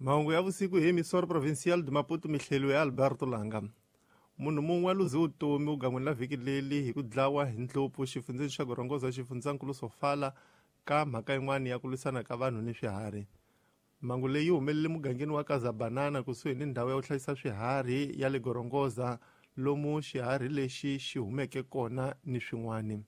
Mahungu ya vusiku hi Emissora Provincial de Maputo, mihlelo ya Alberto Langa. Munhu mun'we a luze vutomi vugan'wini la vhiki leli hi ku dlawa hi ndlopfu xifundzeni xa Gorongosa xifundzankulu Sofala ka mhaka yin'wana ya ku lwisana ka vanhu ni swiharhi. Mhangu leyi yi humelele mugangeni wa Kazabanana kusuhi ni ndhawu ya ku hlayisa swiharhi ya le Gorongosa lomu xiharhi lexi xi humeke kona ni swin'wana.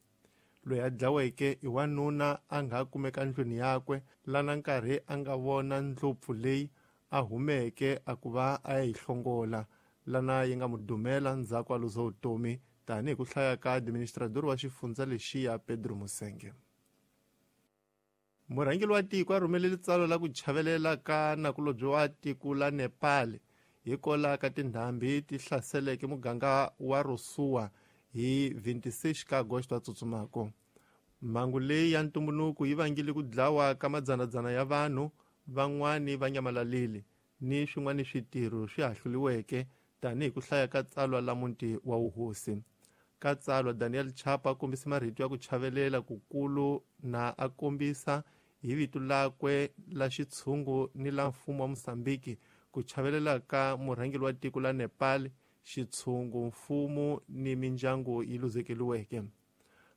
Loyi a dlaweke i wanuna a nga kumeka ndlwini yakwe lana nkarhi a nga vona ndlopfu leyi a humeke a ku va a ya yi hlongola lana yi nga mu dumela ndzhaku a luza vutomi tanihi ku hlaya ka administrador wa xifundza lexiya Pedro Musenge. Murhangeri wa tiko a rhumelele tsalwa la ku chavelela ka nakulobye wa tiko la Nepal hikola ka tindhambi ti hlaseleke muganga wa Rosua hi 26 ka Agosto a tsutsumako. Mhangu leyi ya ntumbuluko yi vangile ku dlawa ka madzanadzana ya vanhu, van'wani va nyamalalile ni swin'wana switirho swi hahluliweke tanihi ku hlaya ka tsalwa la muti wa wuhosi. Ka tsalwa Daniel Chapo a kombise marito ya ku chavelela kukulu na a kombisa hi vito lakwe la xitshungu ni la mfumo wa Mozambique ku chavelela ka murhangeri wa tiko la Nepal, xitshungu, mfumo ni mindyangu yi luzekeriweke.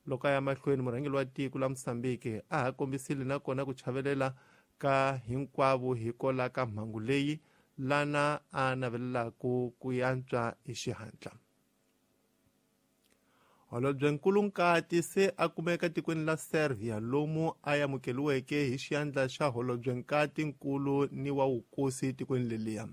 Loko a ya mahlweni murhangeri wa tiko la Mozambique a ha kombisile nakona ku chavelela ka hinkwavo hikola ka mhangu leyi lana a navelelaku ku yantswa hi xihatla. Holobye Nkulunkati se a kumeka tikweni la Serbia lomu a amukeliweke hi xiyandla xa holobye nkati nkulu ni wa wukosi tikweni leliya.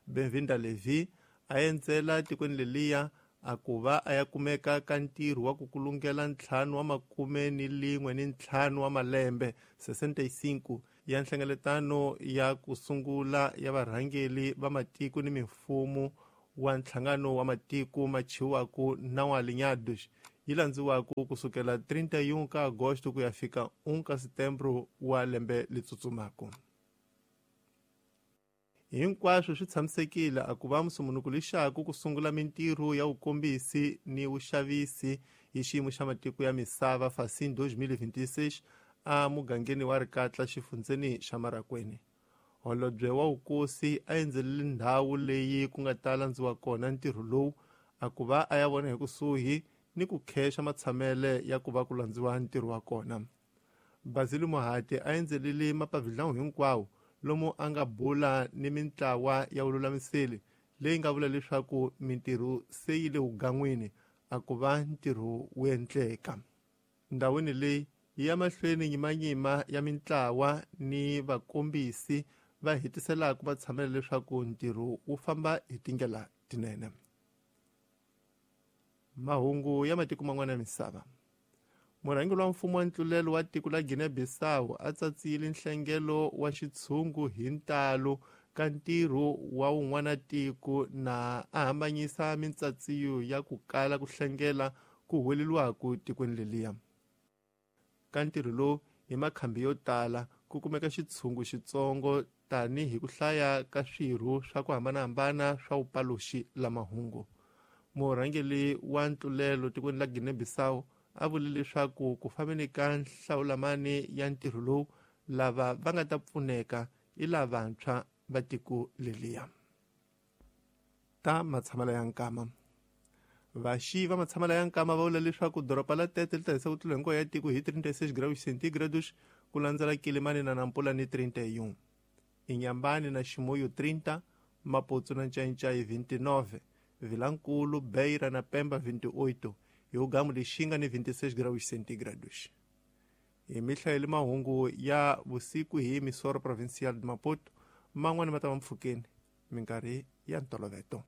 Benvinda Levi a endzela tikweni leliya a ku va a ya kumeka ka ntirho wa ku kulungela 51 wa malembe 65 ya nhlengeletano ya ku sungula ya varhangeli va matiko ni mimfumo wa nhlangano wa matiko machiwaku na wa Alinhados yi landziwaku kusukela 31 ka Agosto ku ya fika 1 ka Setembro wa lembe letsutsumako. Hinkwaswo swi tshamisekile a ku va musumunuku lexaku ku sungula mintirho ya vukombisi ni vuxavisi hi xiyimo xa matiko ya misava Facin 2026 a mugangeni wa Rikatla xifundzeni xa Marakweni. Holobye wa wukosi a endzelele ndhawu leyi ku nga ta landziwa kona ntirho lowu a ku va a ya vona hi kusuhi ni ku khexa matshamele ya ku va ku landziwa ntirho wa kona. Basile Mohati a endzelele mapavhidlawu hinkwawo lomu a nga bula ni mintlawa ya vululamiseli leyi nga vula leswaku mintirho se yi le wugan'wini a ku va ntirho wu endleka. Ndhawini leyi yi ya mahlweni nyimanyima ya mintlawa ni vakombisi va hetiselaka matshamelo leswaku ntirho wu famba hi tindlela tinene. Mahungu ya matiko man'wana ya misava. Murhangeri wa mfumo wa ntlulelo wa tiko la Guinea-Bissau a tsatsile nhlengelo wa xitshungu hi ntalo ka ntirho wa wun'wana tiko na a hambanyisa mintsatsiyo ya ku kala ku hlengela ku huweleliwaku tikweni leliya. Ka ntirho lowu hi makhambi yo tala ku kumeka xitshungu xitsongo tanihi ku hlaya ka swirho swa ku hambanahambana swa vupaluxi la mahungu. Murhangeri wa ntlulelo tikweni la Guinea-Bissau a vule leswaku ku fambeni ka nhlawulamani ya ntirho lowu lava va nga ta pfuneka i lavantshwa va tiko leliya. Ta matshamelo ya nkama. Vaxi va matshamelo ya nkama va vula leswaku doroba la Tete li ta hisa ku tlula hinkwayo ya tiko hi 36 graus centigrados ku landzela Kilimani na Nampula ni 31. Inyambani na Chimoio 30, Maputo na Ncaincaí 29, Vilankulu, Beira na Pemba 28, hi ugamu Lixinga ni 26 graus centigrados. Hi mihlayeli mahungu ya vusiku hi Emissora Provincial de Maputo, man'wana ma ta va mpfhukeni minkarhi ya ntoloveto.